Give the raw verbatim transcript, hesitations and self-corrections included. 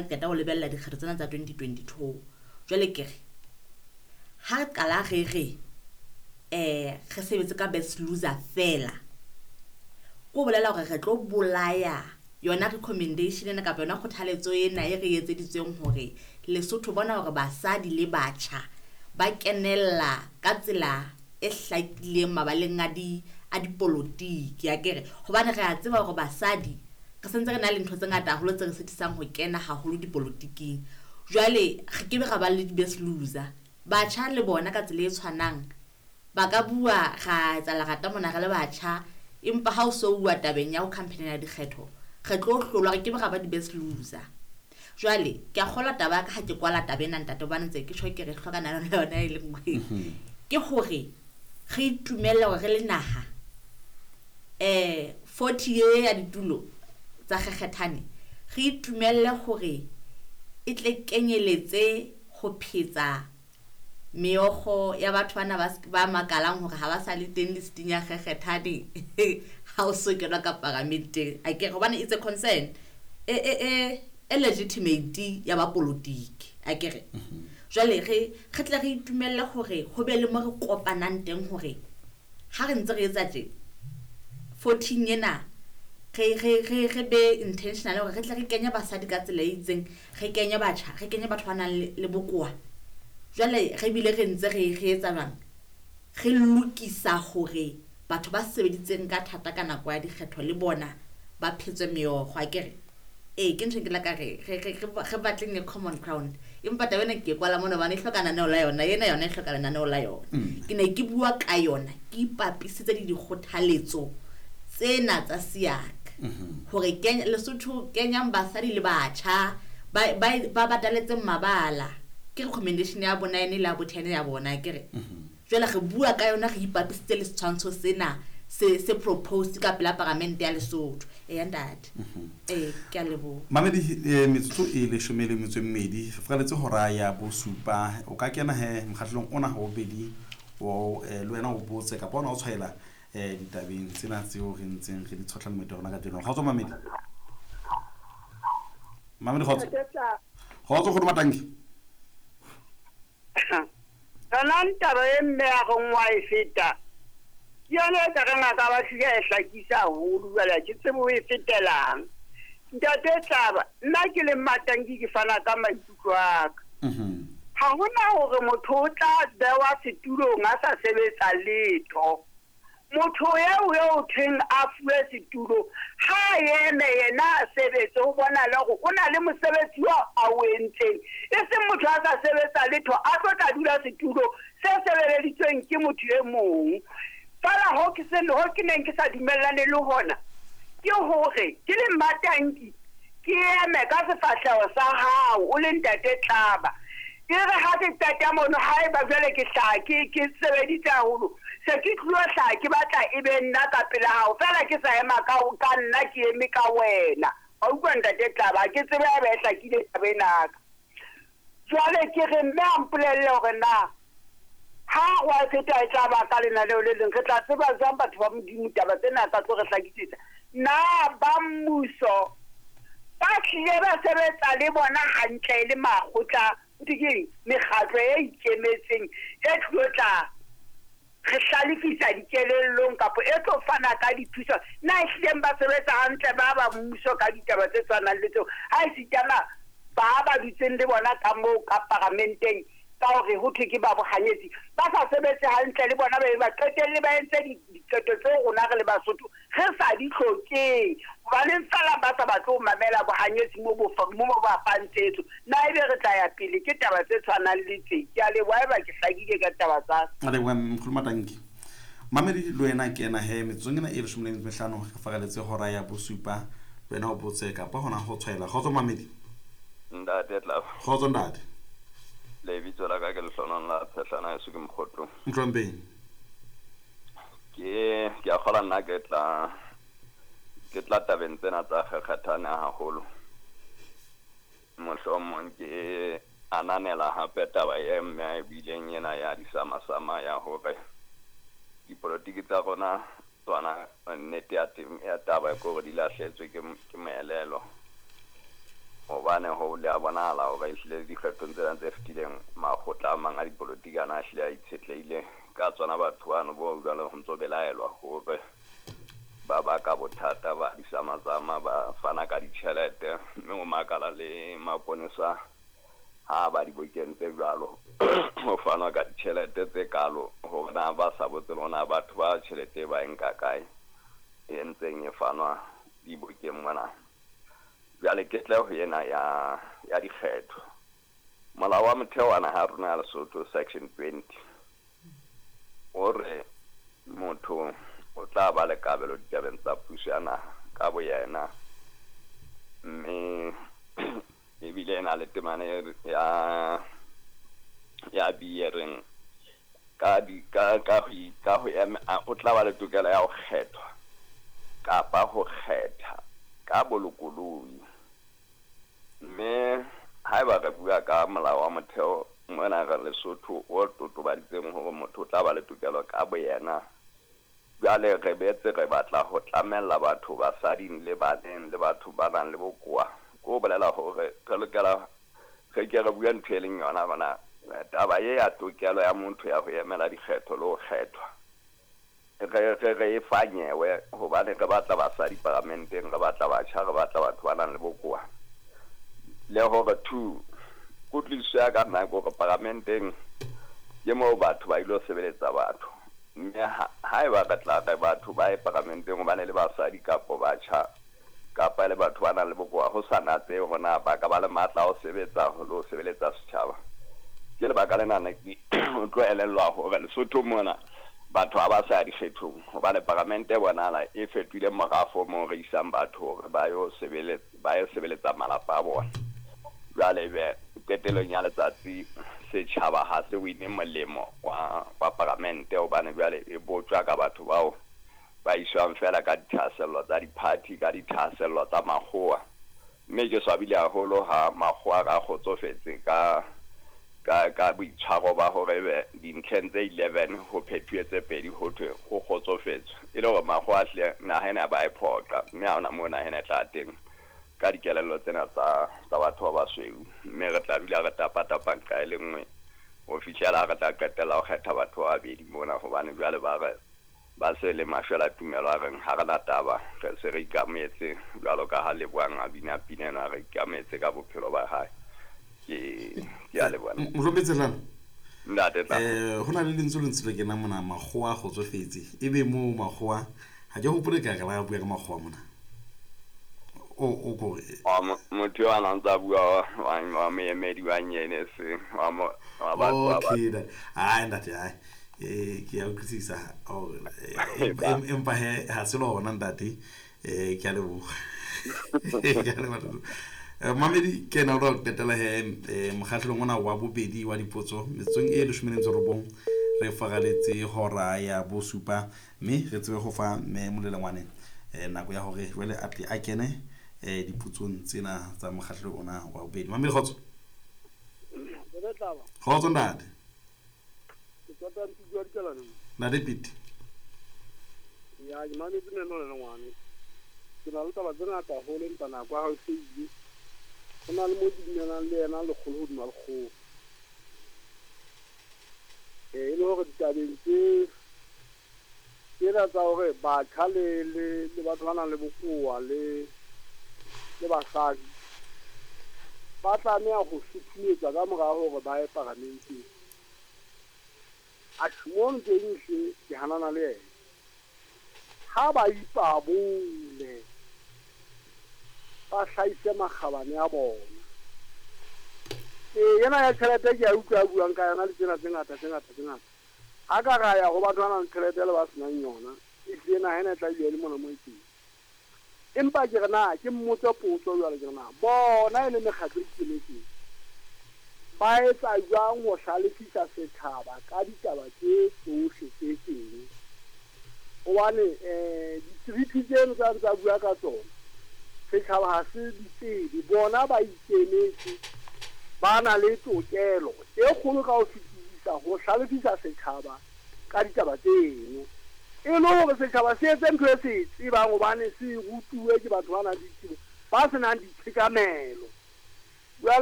Qeta ho lebella dikgetho tsena tsa twenty twenty two. Jwale ke re ha re qala re re um re sebetse ka best loser fela, ko bolela hore re tlo bolaya yona recommendation ena kapa yona kgothaletso ena e re etseditsweng hore Lesotho bona hore basadi le batjha ba kenella ka tsela e hlakileng mabaleng a di a dipolotiki akere. Hobane re a tseba hore basadi re sentse re na le ntho tse ngata haholo tse re sitisang ho kena haholo dipolotiking. Jwale re kebe ra ba le di-best loser. Batjha le bona ka tsela e tshwanang ba ka bua ra etsa lerata mona re le batjha, empa ha o so bua tabeng ya ho campaign-ela dikgetho re tlo hlolwa, re kebe ra ba di-best loser. Jwale ke a kgolwa taba ya ka ha ke kwala taba ena ntate, hobane ntse ke tjho ke re hloka nalo le yona e le nngwe. Ke hore re itumelle hore re le naha eh forty ye ya ditulo tsa kgekgethane, re itumelle hore e tle kenyeletse ho phetsa meokgo ya batho bana ba ba makalang hore ha ba sa le teng listing ya kgekgethane ha o so kenwa ka paramenteng. Akere hobane it's a concern e e e e legitimate ya ba politiki akere. Jwale re re tle re itumelle hore ho be le mo re kopanang teng hore ha re ntse re etsa tje fourteen ena re re re re be intentional hore re tle re kenye basadi ka tsela e itseng, re kenye batjha, re kenye batho ba nang le, le bokowa. Jwale re bile re ntse re re etsa jwang, re lokisa hore batho ba sebeditseng ka thata ka nako ya dikgetho le bona ba phetswe meokgo akere. Ee, ke ntho e ke la ka re re re re batleng a common ground, empa taba ena ke e kwala mona hobane e hloka lenaneo la yona, ena yona e hloka lenaneo la yona. Ke ne ke bua ka yona ke ipapisitse le dikgothaletso tsena tsa SIAC hore kenya Lesotho kenyang basadi le batjha ba ba ba bataletseng mabala. Ke recommendation ya bona ene le ya bo ten ya bona akere. Jwale re bua ka yona re ipapisitse le setshwantsho sena se se proposed ka pela paramente ya Lesotho. Eya ntate. Ee, ke a leboha. Mamedi, eh, metsotso e leshome le metso e mmedi re furaletse hora ya bosupa. O ka kena he mokgahlelong ona wa bobedi wa eh, le wena o botse kapa ona o tshwaela eh ditabeng tsena tseo re ntseng re di tshohla le moeti wa rona kajeno. Kgotso mamedi. Mamedi kgotso. Kgotso kgono Matanki. Yona taba e mme ya reng wa e feta ke yona e ka reng a ka ba hlile a e hlakisa haholo, jwale ha ke tsebe o e fetelang. Ntate Tlaba, nna ke le Matanki ke fana ka maikutlo a ka. Ha hona hore motho o tla bewa setulong a sa sebetsa letho. Motho eo eo thweng a fuwe setulo ha eme yena a sebetse, o bona le hore o na le mosebetsi oo a o entseng, e seng motho a sa sebetsa letho a tlo tla dula setulo se sebeleditsweng ke motho e mong. Fela ho ke se ho ke neng ke sa dumellane le hona ke hore ke le Matanki ke eme ka sefahleho sa hao o le ntate Tlaba. E re ha ke qeta mono, haeba jwale ke hlaha ke ke sebeditse haholo, se ke tlo hlaha ke batla e be nna ka pela hao, fela ke sa ema ka ka nna ke eme ka wena. Wa utlwa ntate Tlaba, ke tsebe ha ba e hlakile taba ena ka. Jwale ke re mme a mpolelle hore na ha wa feta e tla ba ka lenaneo le leng, re tla tseba jwang batho ba Modimo taba tsena tsa tlo re hlakisetsa. Na ba mmuso ba hlile ba sebetsa le bona hantle le makgotla, ho thwe keng, mekgatlo e ikemetseng e tlo tla re hlalefisa dikelellong kapa e tlo fana ka dithuso, na ehlileng ba sebetsa hantle ba ba mmuso ka ditaba tse tshwanang le tseo? Ha esitana ba ba dutseng le bona ka moo ka paramenteng ka hore ho thwe ke ba bohanyetsi, ba sa sebetse hantle le bona, ba be ba qetelle ba entse diqeto tseo rona re le Basotho re sa di hlokeng. Hobaneng fela ba sa batle ho mamela bohanyetsi mo bo mo ba fang tshetso? Na ebe re tla ya pele ke taba tse tshwanang le tse? Ke a leboha haeba ke hlakile ka taba tsa ka. A leboha Mkhulu Matanki. Mamedi le wena kena he metsotsong ena e leshome le metso e mehlano re fareletse hora ya bosupa. Le wena o botse kapa hona ho tshwaela. Kgotso mamedi. Ntate Tlaba. Kgotso ntate. Lebitso la ka ke Lehlohonolo la Tshehlana heso ke Mokgotlong. Motlompeng. Ke ke a kgolwa nna ke tla ke tla tabeng tsena tsa kgekgethane haholo. Mohlomong ke ananela hape taba e mme a e buileng ena ya disamasama ya hore dipolotiki tsa rona tsona nnete ya teng ya taba ke hore di lahletswe ke ke moelelo. Hobane ho le a bonahala hore ehlile dikgethong tsena tse fetileng makgotla a mang a dipolotiki ana a hlile a itshetlehile ka tsona batho bano bo jwale ho ntso belaelwa hore ba baka bothata ba disamazama ba fana ka ditjhelete mme o makala le maponesa ha ba dibokeng tse jwalo ho fanwa ka ditjhelete tse kalo hore na ba sa botse le hore na batho ba tjhelete ba e nka kae e ntseng e fanwa dibokeng mona. Jwale ke tle ho ena ya ya dikgetho. Molao wa motheo wa naha ya rona ya Lesotho section twenty o re motho o tla ba le kabelo ditabeng tsa puso ya naha ka boyena, mme ebile e na le temana ya ya B e reng ka di ka ka ho ka ho ema o tla ba le tokelo ya ho kgethwa kapa ho kgetha ka bolokolohi. Mme haeba re bua ka molao wa motheo mona re Lesotho o totobaditseng hore motho o tla ba le tokelo ka boyena, jwale re betse re batla ho tlamella batho basading le baneng le batho ba nang le bokowa. Ko bolela hore re lokela re ke re bue ntho e leng yona bona taba e ya tokelo ya motho ya ho emela dikgetho le ho kgethwa re re re e fanyewe hobane re batla basadi paramenteng, re batla batjha, re batla batho ba nang le bokowa. Le hore two kutlwisiso ya ka nna ke hore paramenteng ke moo batho ba ilo sebeletsa batho, mme haeba re tla re batho ba ye paramenteng hobane le basadi kapo batjha kapa le batho ba nang le bokowa ho sa natse hore na ba ka ba le matla a ho sebetsa le ho sebeletsa setjhaba. Ke lebaka lena ne ke o tlo elellwa hore Lesotho mona batho ha ba sa ya dikgethong hobane paramente bonahala e fetohile morafo moo re isang batho hore ba yo sebeletsa ba yo sebeletsa malapa a bona. Jwale ebe qetellong ya letsatsi setjhaba ha se wine molemo wa wa paramente hobane jwale e botjwa ka batho bao ba iswang fela ka dithahasello tsa di-party ka dithahasello tsa makgowa. Mme ke swabile haholo ha makgowa a kgotsofetse ka ka ka boitshwaro ba hore ebe dintlheng tse eleven ho phethuwe tse pedi ho thwe ho kgotsofetswe, e le hore makgowa a hlile naha ena ba e phoqa mme ha hona moo naha ena e tla teng ka dikelello tsena tsa tsa batho ba basweu. Mme re tla dula re tapa-tapa nqa e le nngwe ho fihlela re tla qetella ho kgetha batho ba babedi mona hobane jwale ba re ba se le mashwela tumelo a reng ha re na taba, re se re ikametse jwalo ka ha Lebohang a bina pina ena, re ikametse ka bophelo ba hae. Ke ke a leboha. Mohlomphehilane ntate tla eh ho na le lentswe le ntse le kena mona makgowa a kgotsofetse ebe moo makgowa ha ke hopole ka re la bua ka makgowa mona o o ko motho yo a nang tsa bua wa wa moemedi wa nyene se wa mo wa batho ba okay ai ntate ai eh ke a utlwisisa empa he ha se lona ntate eh ke a leboha ke a leboha. Mamedi ke na ro qetela he mokgahlelong ona wa bobedi wa dipotso metsotsong e leshome le metso robong re faraletse hora ya bosupa mme re tsebe ho fa mme Molelengwane nako ya hore jwale a tle a kene dipotsong tsena tsa mokgahlelo ona wa bobedi. Mamedi kgotso. Kgotso ntate. Ntate Pete. Ya ke mametse mme Molelengwane. Ke na le taba tse ngata haholo empa nako ya hao e se ile. Ho na le mo ke dumelang le yena lekgolo hodima lekgolo. Eh e le hore ditabeng tse tsena tsa hore batjha le le le batho ba nang le bokowa le le basadi ba tlameha ho sutumetsa ka mora hore ba ye paramenteng. Atjhe mono teng hle ke hanana le yena. Ha ba ipabole ba hlahise makgabane a bona. Ee ena ya tjhelete ke a utlwa a buang ka yona le tsena tse ngata tse ngata tse ngata. Ha ka ra ya ho batho ba nang le tjhelete le ba senang yona, ehlile naha ena e tla dula e le mona moo e teng. Empa ke re na ke mmotse potso jwale ke re na bona e le mekgatlo e ikemetseng ba etsa jwang ho hlalefisa setjhaba ka ditaba tse tsohle tse teng? Hobane eh ditreaty tseno tsa ntsa bua ka tsona setjhaba ha se di tsebe, bona ba ikemetse ba na le tokelo e kgolo ka ho fetisisa ho hlalefisa setjhaba ka ditaba tseno. E le hore setjhaba se etse ntho e se e tsebang hobane se rutuwe ke batho ba nang le ditsebo, ba senang ditshekamelo. Jwale